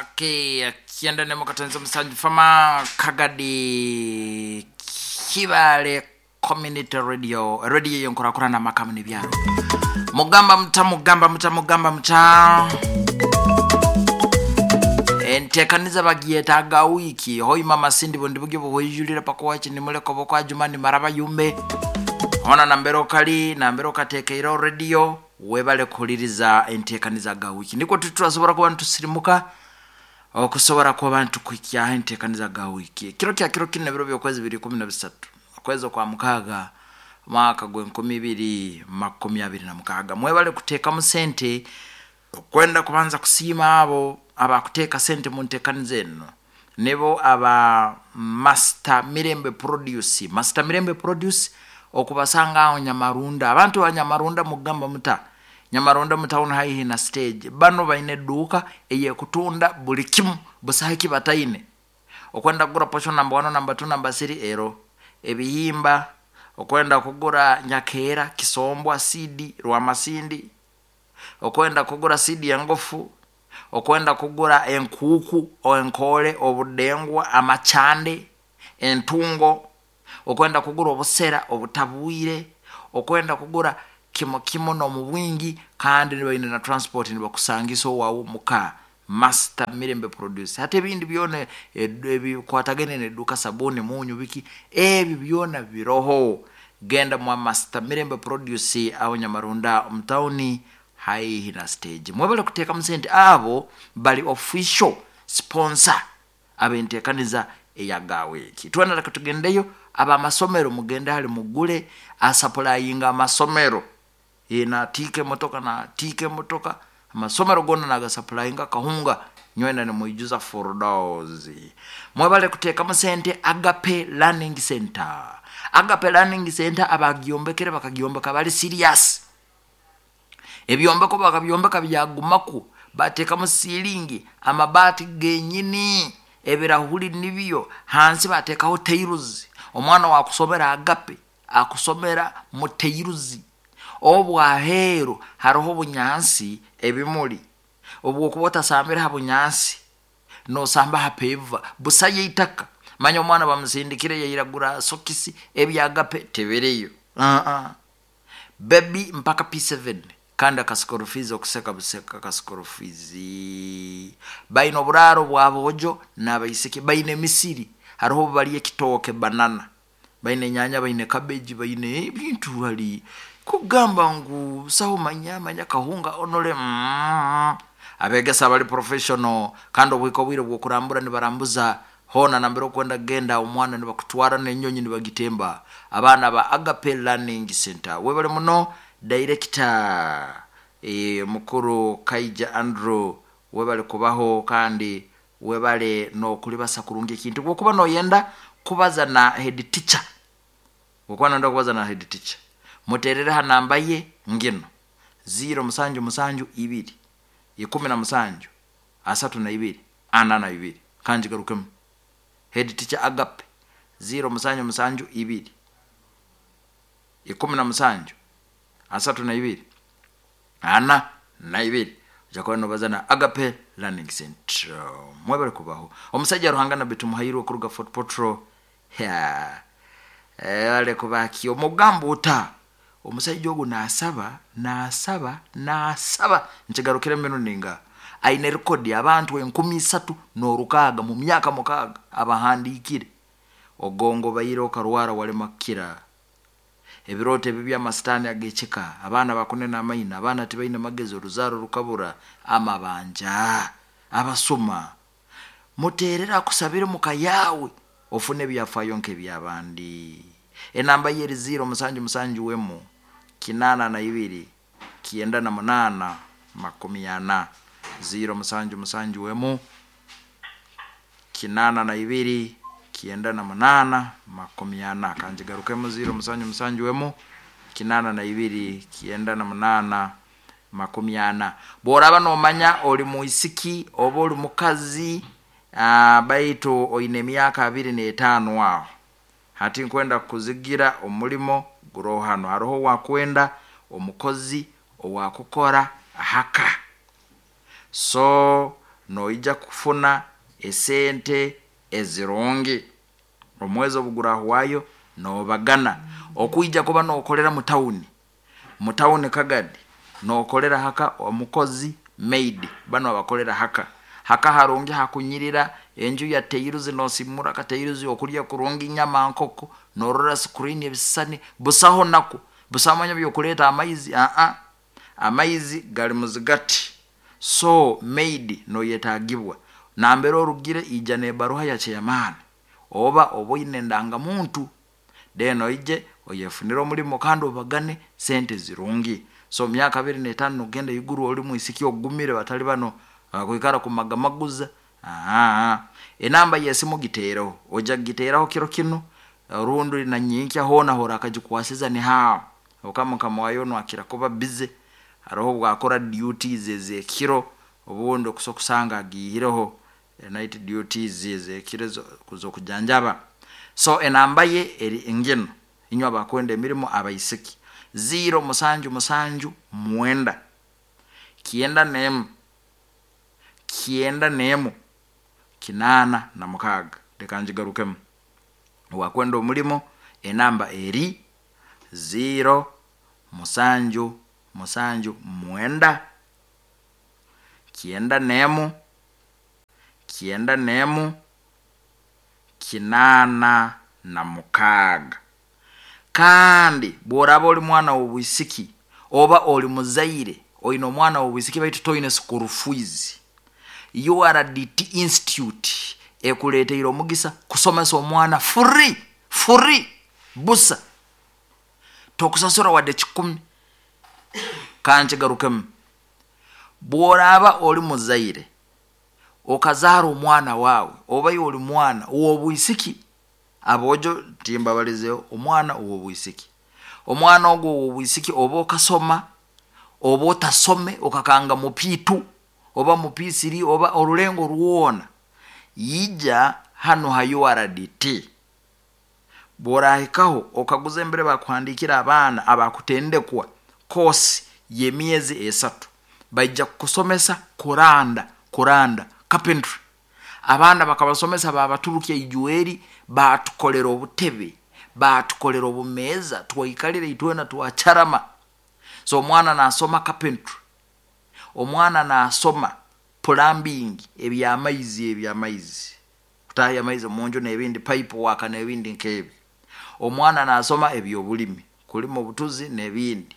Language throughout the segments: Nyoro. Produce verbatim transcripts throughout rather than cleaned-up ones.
Okay, kyenda nemu katonze musanju fama Kagadi Kibale Community Radio, radio yonkurakurana makamu n'ibyaro. Mugamba muta, mugamba muta, mugamba muta. Entekaniza bagiyetaga wiki hoima masindi bundi bugyo buhwijulira pakuwachi nimuleko bokwa jumani maraba yumbe ona nambero kali nambero katekeiro radio webale kuhuliriza entekaniza ga wiki niko turasobora kuba ntusirimuka okusobora kuba ntukwikya entekaniza ga wiki kiro kya kiro kine biro byokwezi bibiri kumi na bisatu okwezi kwa mukaga mwaka gw'enkumi ibiri makumi abiri na mukaga. Mwebale kuteekamu sente kwenda kubanza kusiima abo abakuteeka sente mu nteekaniza eno nibo aba Master Mirembe Produce. Master Mirembe Produce okubasanga aho Nyamarunda. Abantu ba Nyamarunda mugamba muta Nyamarunda mutawuni haihi na stage bano baine edduuka eyekutunda buli kimu busahiki bataine okwenda kugura posho namba one namba two namba three ero ebihimba okwenda kugura nyakeera kisombwa sidi rwamasindi okwenda kugura sidi engofu okwenda kugura enkuku enkole obudengwa amachande entungo okwenda kugura obusera obutabwire okwenda kugura kimo kimo no mu bwingi kandi nibaine na transport nibakusangisa owawu muka Master Mirembe Produce. Hata ebindi byona ebikwatagene nedduka sabuni munyu biki ebyo byona biroho. Genda mwa Master Mirembe Produce aho Nyamarunda mtauni haihi na stage. Mwebale kuteeka musente abo bali official sponsor abentekaniza eyagaweki. Twana tugendeyo abamasomero mugende hali mugule asaplayinga amasomero ina tike motoka na tike motoka amasomero gona nagasaplayinga kahunga nywena ni muijuza four dollars. Mwebale kuteeka musente Agape Learning Center. Agape Learning Center abagyombekere bakagyombeka bali serious. Ebyombeko bakabyombeka byagumaku bateekamu silingi amabaati genyini ebirahuri nibyo hansi bateekaho tairuzi. Omwana wakusomera Agape akusomera mu tairuzi. Obwaheru hariho obunyansi ebimuli obwokuba otasambira ha bunyansi nosamba ha peva busaye itaka manya omwana bamusindikire yairagura sokisi ebya Agape tebereyo uh -uh. Baby mpaka P seven kandi akasikorofizi okuseka buseka akasikorofizi baina oburaro bwabojo n'abaisiki baina emisiri hariho bali ekitooke banana baina enyanya baina cabbage baina ebintu hali kugamba ngu saho manya manya kahunga onole mm. Abegesa bali professional kandi obwiko bwire bwokurambura nibarambuza hona nambere okwenda genda omwana nibakutwara n'enyonyi nibagitemba. Abaana ba Agape Learning Center webale muno director e, mukuru Kaija Andrew webale kubaho kandi webale no kulibasa kurungi ekintu bwokuba noyenda kubaza na head teacher bwokuba noyenda kubaza na head teacher muterere ha namba ye ngino zero musanju musanju ibiri ikumi na musanju asatu na ibiri ana na ibiri kanji garukemu head teacher Agape zero musanju musanju ibiri ikumi na musanju asatu na ibiri ana na ibiri jakuwa nobaza na Agape Learning Center. Mwebale kubaho omusajja Ruhanga na bitumuhairwe kuruga Fort Portal ya wale kubaki omugambo uta omusajja ogu nasaba nasaba nasaba nkigarukire mbinu ninga aine rekodi abantu enkumi isatu n'orukaga mu myaka mukaga abahandikire ogongo bayire okarwara wale makira ebirote ebibi amasitani agecheka abaana bakunena amaina abaana tibaine magezi oruzaro rukabura amabanja abasoma muterera akusabire mukayawe ofune ebyafayo nk'ebyabandi. Enamba yeri zero musanju musanju wemu kinana na ibiri kienda na munana makumi ana zero musanju musanju wemu kinana na ibiri kienda na munana makumi ana kanjigarukemo zero musanju musanju wemu kinana na ibiri kienda na munana makumi ana. Bworaba nomanya oli muisiki oba oli mukazi uh, baitu oine emyaka abiri n'etaano aho hati nkwenda kuzigira omulimo gurohano hariho wakwenda omukozi owakukora haka so Noija kufuna esente ezirungi omwezi obugurahwayo nobagana. Okuija kuba nokolera mu tawuni, mu tawuni Kagadi, nokolera haka omukozi maid, bano abakolera haka haka harungi hakunyirira, enju ya tairuzi nosimura katairuzi, okulya kurungi, nyama nkoko, norora screen ebisisani, busaho naku, busaho manya byokuleta amaizi, aa amaizi gali muzigati. So maid noyetagibwa nambere orugire, ija nebaruha ya chairman oba oboine endangamuntu, then oije oyefunire omulimo kandi obagane sente zirungi. So myaka abiri netano nogenda iguru oli mwisiki ogumire, batali bano abakwikara kumagamaguza. Aa enamba yesimu gitereho, ojya kugiteraho kiro kinu rundi na nyenkya, hoona horakagikwasiza nihaho, habwokuba mukama wayo onu akira kuba busy, haroho obwakora duties ezekiro, obundi okusa kusanga agiihireho night duties ezekiro ezokujanjaba. So enamba ye eri nginu, inywe abakwenda emirimo abaisiki, ziro musanju musanju mwenda kyenda nemu kyenda nemu kinaana na mukaaga. Leka ngigarukemu, owakwenda omulimo enamba eri ziro musanju musanju mwenda kyenda nemu kyenda nemu kinaana na mukaaga. Kandi bworaba oli mwana w'obwisiki oba oli muzaire oine omwana w'obwisiki baitu toine school fees, U R D T Institute ekuleteire omugisa kusomesa omwana free, free busa, tokusasura wadde kikumi. Kankigarukemu, bworaba oli muzaire okazaara omwana wawe, oba oli mwana ow'obwisiki, abojo timbabalizeho, omwana ow'obwisiki, omwana ogu ow'obwisiki oba okasoma oba otasome, okakanga mu P two oba mu P three oba orulengo rwona, ija hanu ha U R D T. Bworahikaho okaguza embere bakuhandikira abaana abakutendekwa kosi y'emyezi esatu, baija kukusomesa kuranda, kuranda carpentry. Abaana bakabasomesa babaturukya ijweri, batukolera obutebe, batukolera obumeeza, twaikalira itwena twacarama. So omwana nasoma carpentry, omwana nasoma plumbing, ebyamaizi, ebyamaizi kutahya amaizi munju nebindi, pipe waka nebindi nkebi. Omwana nasoma ebyobulimi, kulima obutuzi nebindi.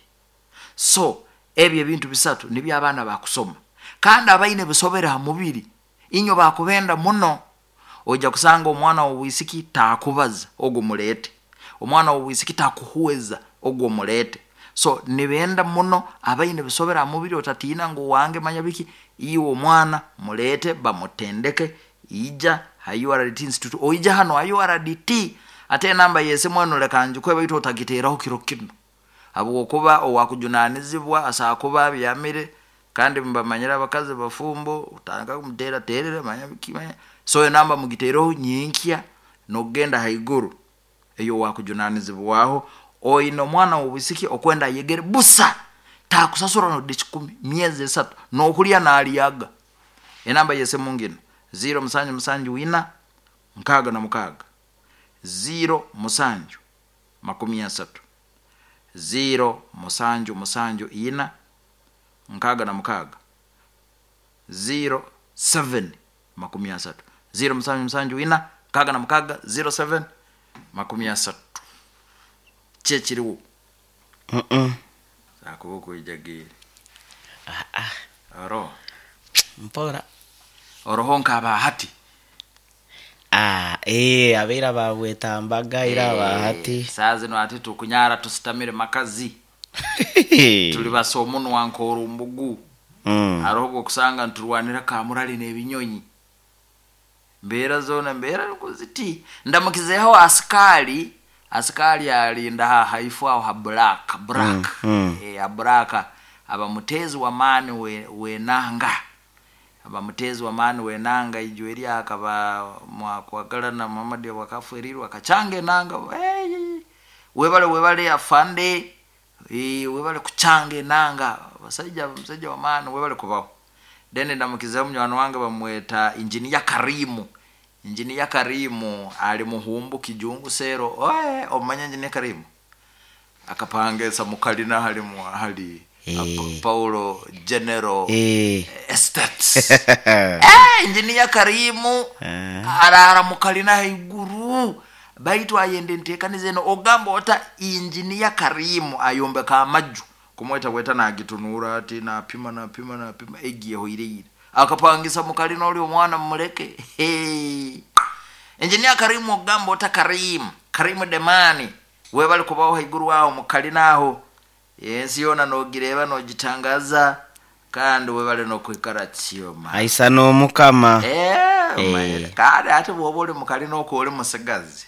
So ebyo ebintu bisatu nibyo abaana bakusoma, kandi abaine bisobere ha mubiri inywe bakubenda muno. Ojja kusanga omwana w'obwisiki takubaza, ogwo muleete. Omwana w'obwisiki takuhweza, ogwo muleete. So nibenda muno abaine bisobere ha mubiri, otatiina ngu wange manya biki, iwe omwana muleete bamutendeke. Ija ha U R D T Institute, oija hano ha U R D T. Ate enamba yesimu enu leka ngikuhe, baitu otagiteeraho kiro kinu, habwokuba owakujunanizibwa asobola kuba abyamire, kandi mbamanyire abakazi bafumbo, otandika kumuteraterera manya biki manya. So enamba mugitereho nyenkya nokugenda haiguru, eyo owakujunanizibwaho. Oine omwana w'obwisiki okwenda ayegere busa, takusasura nodi kikumi, myezi esatu nokulya nalyaga. Enamba yesimu ngino ziro musanju musanju ina nkaaga na mukaaga ziro musanju makumi asatu, ziro musanju musanju ina nkaaga na mukaaga ziro seven makumi asatu, ziro musanju musanju ina nkaaga na mukaaga ziro seven makumi asatu. Kyekiriwo akuba okwijagiire oro mpora oroho nkaba hati. Ah, eh, abeira babwetambaga ira abahati. Saa zino ati tukunyara tusitamire makazi, tuli basa omunwa nkorumbugu. Mm. Haroho obwokusanga nturwanira kamurali n'ebinyonyi, mbeera zona mbeera ziti. Ndamukizeho asikali, asikali alinda ha haifu aho ha black black. Mm, mm. E, ha black aba mutezi wa maani we, wenanga, aba mutezi wa maani wenanga ijweri akaba mwakwagala na Muhammad wakafurirwa akacanga enanga. Hey, webale webale afande, e, webale kuchanga enanga, basajja musajja wa maani webale kubaho. Then ndamukizeho munywani wange bamweta Injiniya Karimu. Injiniya Karimu ali muhumbu kijungu sero. Oe, omanya Injiniya Karimu akapangesa mukalina hali mu hali Eh. Pa- Paulo General Eh. Estates. Eh, Injiniya Karimu Eh. arara mukalina haiguru, baitu ayende ntekaniza eno. Ogamba ota Injiniya Karimu ayombeka amaju kumweta bweta nagitunura ati napima napima napima egiyeho ireire akapangisa mukalina oli omwana mumuleke. Hey. Injiniya Karimu, ogamba ota Karimu Karimu Demani, webali kubaho haiguru aho mukalina aho, ensi yona nogireba nogitangaza, kandi webale nokwikara kyoma. Aisa n'omukama. Eh, Eh. mayere. Kandi ate bwoba oli mukalina okwo oli musigazi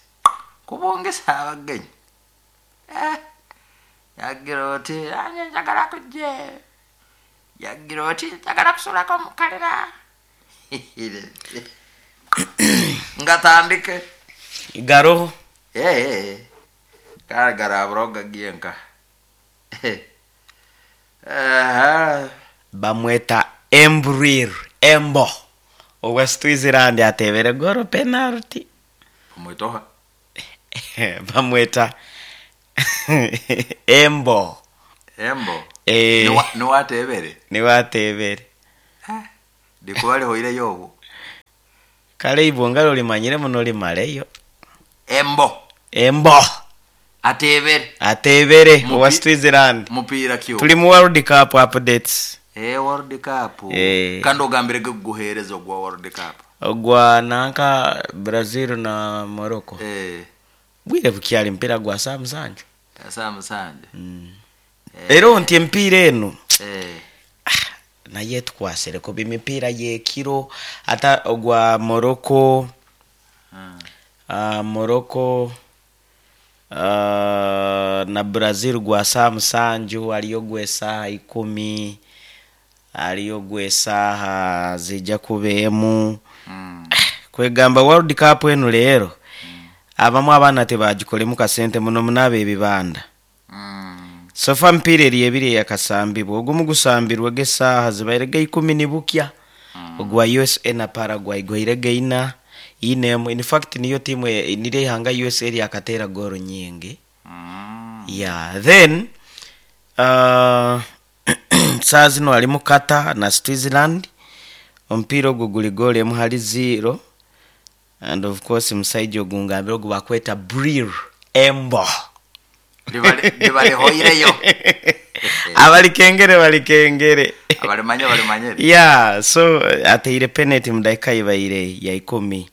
kubongesa abagenyi. Eh, yagira oti anye njagala kujje, yagira oti njagala kusulako mukalina nga tandike. Garoho. Eh, eh, eh. Kale garabura ogagiye nka. Aha. Bamweta Embrir Embo owa Switzerland atebere goro penalty. Omwetoha? Bamweta Embo. Embo? Eh. Niwa- niwatebere? Niwe atebere. Ndikuba lihoireyo obwo. Kale ibwo olimanyire muno limaleyo. Embo? Embo. Atebere? Atebere. Mupi- Owa Switzerland. Mupiira kyo? Tuli mu World Cup updates. Eh, World Cup. Eh. Kandi ogambire guguhereza ogwa World Cup. Ogwa nanka Brazil na Morocco. Eh. Bwire bukyali mpira gwa saa musanju. Saa musanje. Era nti empiira eno Eh. naye tukwasireko bimipiira yekiro ata ogwa Morocco. Mm. uh, Morocco uh, na Brazil gwa saa musanju, aliyo gw'esaaha ikumi, aliyo gw'esaaha zijja kuba emu. Mm. Kwegamba World Cup eno leero abamu abaana tebagikolemu kasente muno munaaba ebibanda. Mm. Sofa mpiira eri ebiri eyakasambibwa, ogumu gusambirwe g'esaaha zibaire ga ikumi nibukya, ogwa U S A na Paraguay gwaire gaina inemu. In fact niyo tiimu e- niryo ihanga U S A lyakateera goolo nyingi. Mm. Yeah, then uh, saa zino ali mu Qatar na Switzerland, omupiira ogwo guli goolo emu hali zero, and of course musaija ogungambire ogu bakweta Bril Embo. Libale- libalihoireyo. Abalikengere balikengere. Abalimanye balimanyere. Yeah, so ateire penalty mu dakika ibaire ya ikumi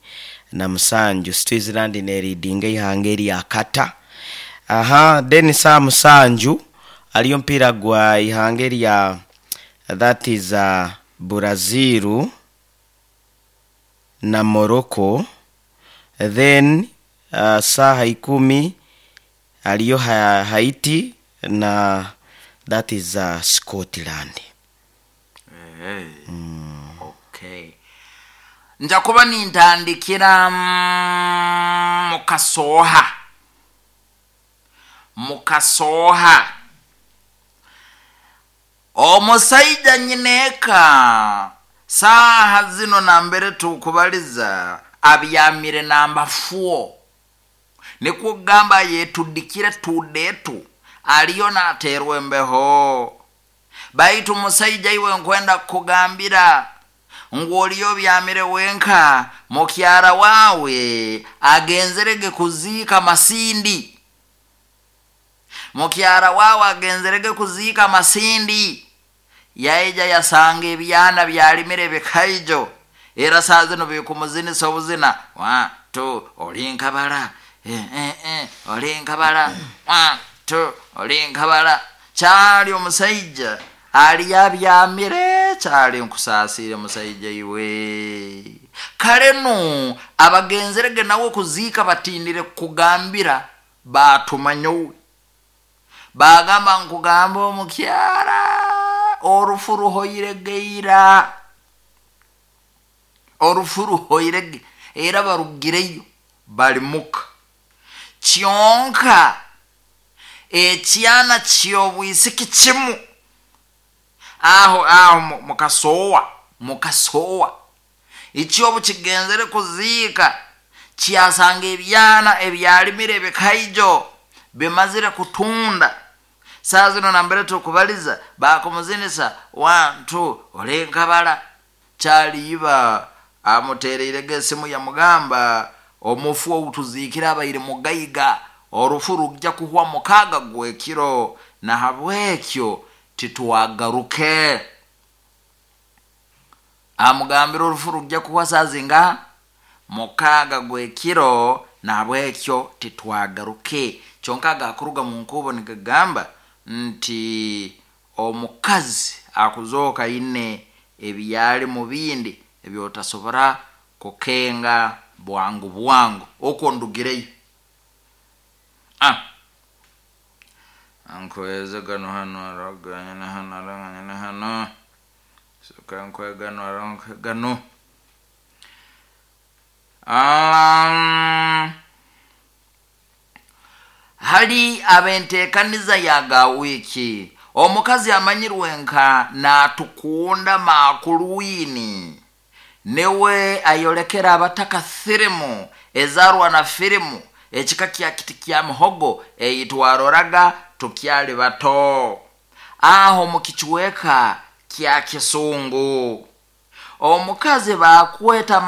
na musanju, Switzerland neridinga ihanga erya Qatar. Aha, then saa musanju aliyo mpira gwa ihanga erya, that is uh, Brazil na Morocco. Then uh, saha ikumi aliyo ha Haiti na, that is uh, Scotland. Eh. Okay, nja kuba nintandikira mm, mukasooha mukasooha omusaija nyineeka saaha zino nambere tukubaliza abyamire namba four, nikwo kugamba yetudikire tudetu aliyo naterwa embeho. Baitu musaija iwe nkwenda kukugambira ngu oliyo byamire wenka, mukyara wawe agenzerege kuziika Masindi. Mukyara wawe agenzerege kuziika Masindi, yaija yasanga ebyana byalimire bikaijo, era saa zino bikumuzinisa obuzina wa tu olinkabala, eh, eh, eh, olinkabala wa tu olinkabala. Kyali omusaija ali abyamire, kyali nkusaasire musaija iwe. Kale no abagenzerege nawe kuziika batindire kugambira batumanyowe, bagamba nkugamba omukyara orufu ruhoiregeira, orufu ruhoirege era barugireyo balimuka kyonka ekyana kyobwisiki kimu aho aho mu- mukasoowa. Mukasowa ekyobu kigenzere kuziika, kyasanga ebyana ebyalimire ebikaijo bimazire kutunda. Saa zino nambere tukubaliza bakumuzinisa wantu olenkabala kyaliiba amutereirege esimu, yamugamba omufu outuziikire abaire mugaiga, orufu rujja kuhwa mukaaga gwekiro, nahabwekyo titwagaruke. Amugambira orufu rujja kuhwa saa zinga mukaaga gwekiro, nahabwekyo titwagaruke. Kyonka agakuruga mu nkubo nigagamba nti omukazi akuzooka ine ebyali mu bindi ebyotasobora kukenga bwangu bwangu okwo ndugireyo. Ah, nkweze gano hano araganyana hano araganyana hano soka nkwe gano arankwe gano. Um, hali abentekaniza ya wiki omukazi amanyirwe nka natukunda makuluwini newe ayolekera abataka firimu ezarwa na firimu ekika kya kiti kya muhogo eyitwaroraga tukyali bato aho mukichweka kya kisungu. Omukazi bakweta.